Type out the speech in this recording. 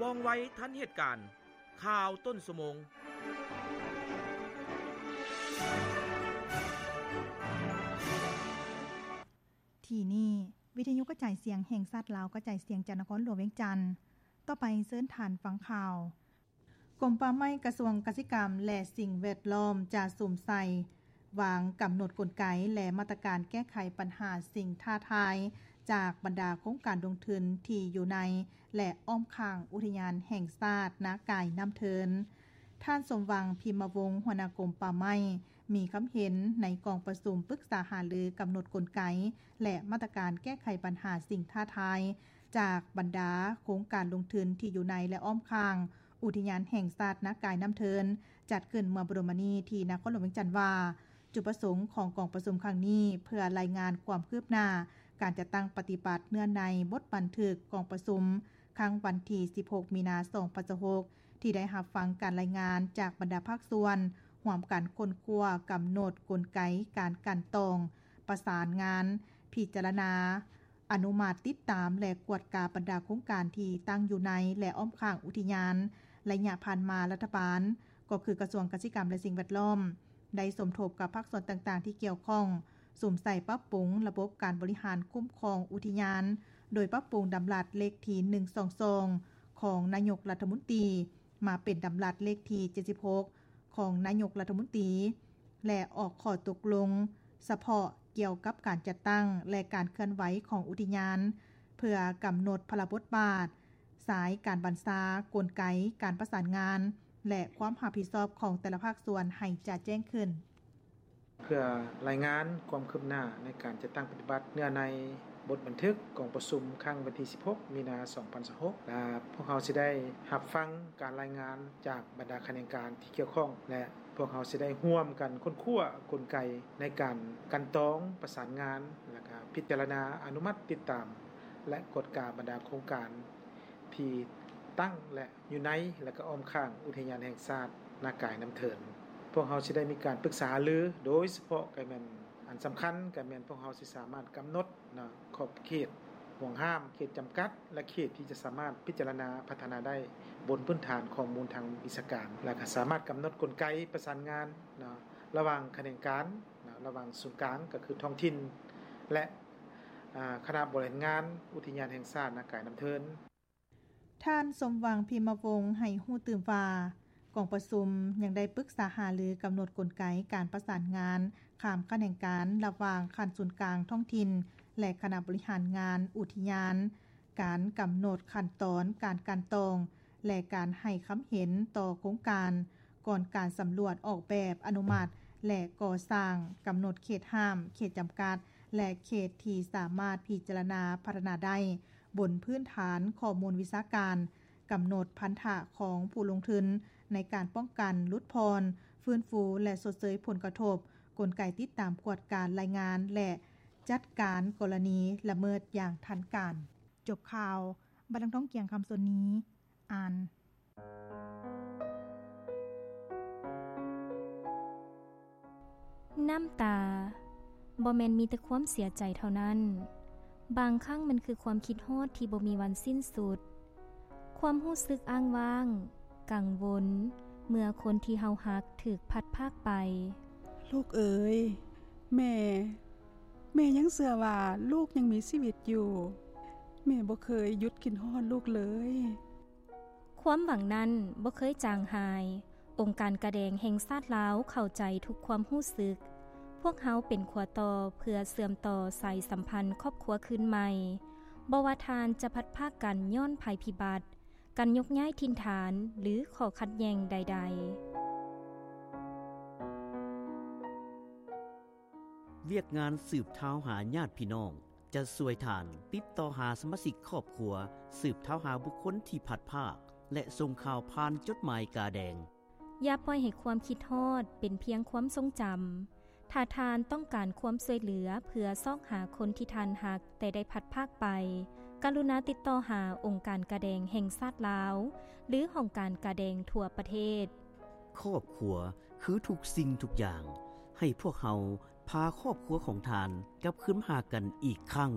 ວ່ອງໄວທັນເຫດການ. ຂ່າວຕົ້ນຊົ່ວໂມງ. ທີ່ນີ້ ວິທະຍຸກະຈາຍສຽງແຫ່ງຊາດລາວ ກະຈາຍສຽງຈາກນະຄອນຫຼວງວຽງຈັນ. ຕໍ່ໄປເຊີນທ່ານຟັງຂ່າວ. ກົມປ່າໄມ້ ກະຊວງກະສິກຳ ແລະ ສິ່ງແວດລ້ອມ ຈະສຸມໃສ່ວາງກຳນົດກົນໄກ ແລະ ມາດຕະການແກ້ໄຂບັນຫາສິ່ງທ້າທາຍ ຈາກບັນດາໂຄງການລົງທຶນທີ່ຢູ່ໃນ ແລະ ອ້ອມຂ້າງອຸທິຍານແຫ່ງຊາດນາກາຍນ້ຳເທີນ. ທ່ານ ສົມຫວັງ ພິມມະວົງ ຫົວໜ້າກົມປ່າໄມ້ ມີຄຳເຫັນໃນກອງປະຊຸມປຶກສາຫາລືກຳນົດກົນໄກ ແລະ ມາດຕະການແກ້ໄຂບັນຫາສິ່ງທ້າທາຍ ຈາກບັນດາໂຄງການລົງທຶນທີ່ຢູ່ໃນ ແລະ ອ້ອມຂ້າງອຸທິຍານແຫ່ງຊາດນາກາຍນ້ຳເທີນ ຈັດຂຶ້ນເມື່ອບໍ່ດົນມານີ້ທີ່ນະຄອນຫຼວງວຽງຈັນວ່າ ຈຸດປະສົງຂອງກອງປະຊຸມຄັ້ງນີ້ ເພື່ອລາຍງານຄວາມຄືບໜ້າການຈັດຕັ້ງປະຕິບັດເນື້ອໃນບົດບັນທຶກກອງປະຊຸມ ຄັ້ງວັນທີສິບຫົກ ມີນາ ສອງພັນຊາວຫົກ ທີ່ໄດ້ຮັບຟັງການລາຍງານຈາກບັນດາພາກສ່ວນ ຮ່ວມກັນຄົ້ນຄວ້າກຳນົດກົນໄກການກັ່ນຕອງປະສານງານ, ພິຈາລະນາ, ອະນຸມັດ, ຕິດຕາມ ແລະ ກວດກາບັນດາໂຄງການທີ່ຕັ້ງຢູ່ໃນ ແລະ ອ້ອມຂ້າງອຸທິຍານ. ໄລຍະຜ່ານມາ ລັດຖະບານ ກໍຄືກະຊວງກະສິກຳ ແລະ ສິ່ງແວດລ້ອມ ໄດ້ສົມທົບກັບພາກສ່ວນຕ່າງໆທີ່ກ່ຽວຂ້ອງ ສຸມໃສ່ປັບປຸງລະບົບການບໍລິຫານຄຸ້ມຄອງອຸທິຍານ ໂດຍປັບປຸງດຳລັດເລກທີໜຶ່ງສອງສອງ ຂອງນາຍົກລັດຖະມົນຕີ ມາເປັນດຳລັດເລກທີເຈັດສິບຫົກ ຂອງນາຍົກລັດຖະມົນຕີ ແລະ ອອກຂໍ້ຕົກລົງສະເພາະກ່ຽວກັບການຈັດຕັ້ງ ແລະ ການເຄື່ອນໄຫວຂອງອຸທິຍານ ເພື່ອກຳນົດພາລະບົດບາດ, ສາຍການບັນຊາ, ກົນໄກການປະສານງານ ແລະ ຄວາມຮັບຜິດຊອບຂອງແຕ່ລະພາກສ່ວນໃຫ້ຈະແຈ້ງຂຶ້ນ. ເພື່ອລາຍງານຄວາມຄືບໜ້າໃນການຈັດຕັ້ງປະຕິບັດເນື້ອໃນບົດບັນທຶກກອງປະຊຸມຄັ້ງວັນທີສິບຫົກ ມີນາ ສອງພັນຊາວຫົກ ແລະ ພວກເຮົາຊິໄດ້ຮັບຟັງການລາຍງານຈາກບັນດາຂະແໜງການທີ່ກ່ຽວຂ້ອງ ແລະ ພວກເຮົາຊິໄດ້ຮ່ວມກັນຄົ້ນຄວ້າກົນໄກໃນການກັ່ນຕອງປະສານງານ ແລະ ກະພິຈາລະນາອະນຸມັດຕິດຕາມ ແລະ ກວດກາບັນດາໂຄງການທີ່ຕັ້ງ ແລະ ຢູ່ໃນ ແລະ ກະອ້ອມຂ້າງອຸທິຍານແຫ່ງຊາດນາກາຍນ້ຳເທີນ. ພວກເຮົາຊິໄດ້ມີການປຶກສາຫາລື ໂດຍສະເພາະກະແມ່ນອັນສຳຄັນກະແມ່ນພວກເຮົາຊິສາມາດກຳນົດເນາະ ຂອບເຂດ, ຫ່ວງຫ້າມ, ເຂດຈຳກັດ ແລະ ເຂດທີ່ຈະສາມາດພິຈາລະນາພັດທະນາໄດ້ບົນພື້ນຖານຂໍ້ມູນທາງວິຊາການ ແລະ ກະສາມາດກຳນົດກົນໄກປະສານງານເນາະ ລະຫວ່າງຂະແໜງການເນາະ ລະຫວ່າງສູນກາງ ກະຄືທ້ອງຖິ່ນ ແລະ ອາ ຄະນະບໍລິຫານງານອຸທິຍານແຫ່ງຊາດນາກາຍນ້ຳເທີນ. ທ່ານ ສົມຫວັງ ພິມມະວົງ ໃຫ້ຮູ້ຕື່ມວ່າ ກອງປະຊຸມຍັງໄດ້ປຶກສາຫາລືກຳນົດກົນໄກການປະສານງານຂ້າມຂະແໜງການລະຫວ່າງຂັ້ນສູນກາງທ້ອງຖິ່ນ ແລະ ຄະນະບໍລິຫານງານອຸທິຍານ, ການກຳນົດຂັ້ນຕອນການກັ່ນຕອງ ແລະ ການໃຫ້ຄຳເຫັນຕໍ່ໂຄງການ ກ່ອນການສຳຫຼວດອອກແບບອະນຸມັດ ແລະ ກໍ່ສ້າງ, ກຳນົດເຂດຫ້າມ, ເຂດຈຳກັດ ແລະ ເຂດທີ່ສາມາດພິຈາລະນາພັດທະນາໄດ້ ບົນພື້ນຖານຂໍ້ມູນວິຊາການ, ກຳນົດພັນທະຂອງຜູ້ລົງທຶນໃນການປ້ອງກັນ, ຫຼຸດຜ່ອນ, ຟື້ນຟູ ແລະ ຊົດເຊີຍຜົນກະທົບ, ກົນໄກຕິດຕາມກວດກາລາຍງານ ແລະ ຈັດການກໍລະນີລະເມີດຢ່າງທັນການ. ຈົບຂ່າວ, ບັດນາງທອງກຽງ ຄຳສົນນີ ອ່ານ. ນ້ຳຕາ ບໍ່ແມ່ນມີແຕ່ຄວາມເສຍໃຈເທົ່ານັ້ນ, ບາງຄັ້ງມັນຄືຄວາມຄິດຮອດທີ່ບໍ່ມີວັນສິ້ນສຸດ, ຄວາມຮູ້ສຶກອ້າງວ້າງ, ກັງວົນ ເມື່ອຄົນທີ່ເຮົາຮັກຖືກພັດພາກໄປ. ລູກເອີຍ, ແມ່, ແມ່ຍັງເຊື່ອວ່າລູກຍັງມີຊີວິດຢູ່. ແມ່ບໍ່ເຄີຍຢຸດຄິດຮອດລູກເລີຍ. ຄວາມຫວັງນັ້ນບໍ່ເຄີຍຈາງຫາຍ. ອົງການກາແດງແຫ່ງຊາດລາວເຂົ້າໃຈທຸກຄວາມຮູ້ສຶກ. ພວກເຮົາເປັນຂົວຕໍ່ເພື່ອເຊື່ອມຕໍ່ສາຍສຳພັນຄອບຄົວຄືນໃໝ່. ບໍ່ວ່າທ່ານຈະພັດພາກກັນຍ້ອນໄພພິບັດ, ການຍົກຍ້າຍຖິ່ນຖານ ຫຼື ຂໍ້ຂັດແຍ່ງໃດໆ. ວຽກງານສືບທາວຫາຍາດພີ່ນ້ອງ ຈະຊ່ວຍທ່ານຕິດຕໍ່ຫາສະມາຊິກຄອບຄົວ, ສືບທາວຫາບຸກຄົນທີ່ພັດພາກ ແລະ ສົ່ງຂ່າວຜ່ານຈົດໝາຍກາແດງ. ຢ່າປ່ອຍໃຫ້ຄວາມຄິດຮອດເປັນພຽງຄວາມຊົງຈຳ. ຖ້າທ່ານຕ້ອງການຄວາມຊ່ວຍເຫຼືອເພື່ອຊອກຫາຄົນທີ່ທ່ານຮັກແຕ່ໄດ້ພັດພາກໄປ, ກະລຸນາຕິດຕໍ່ຫາອົງການກາແດງແຫ່ງຊາດລາວ ຫຼື ຫ້ອງການກາແດງທົ່ວປະເທດ. ຄອບຄົວຄືທຸກສິ່ງທຸກຢ່າງ. ໃຫ້ພວກເຮົາພາຄອບຄົວຂອງທ່ານກັບຄືນມາຫາກັນອີກຄັ້ງ.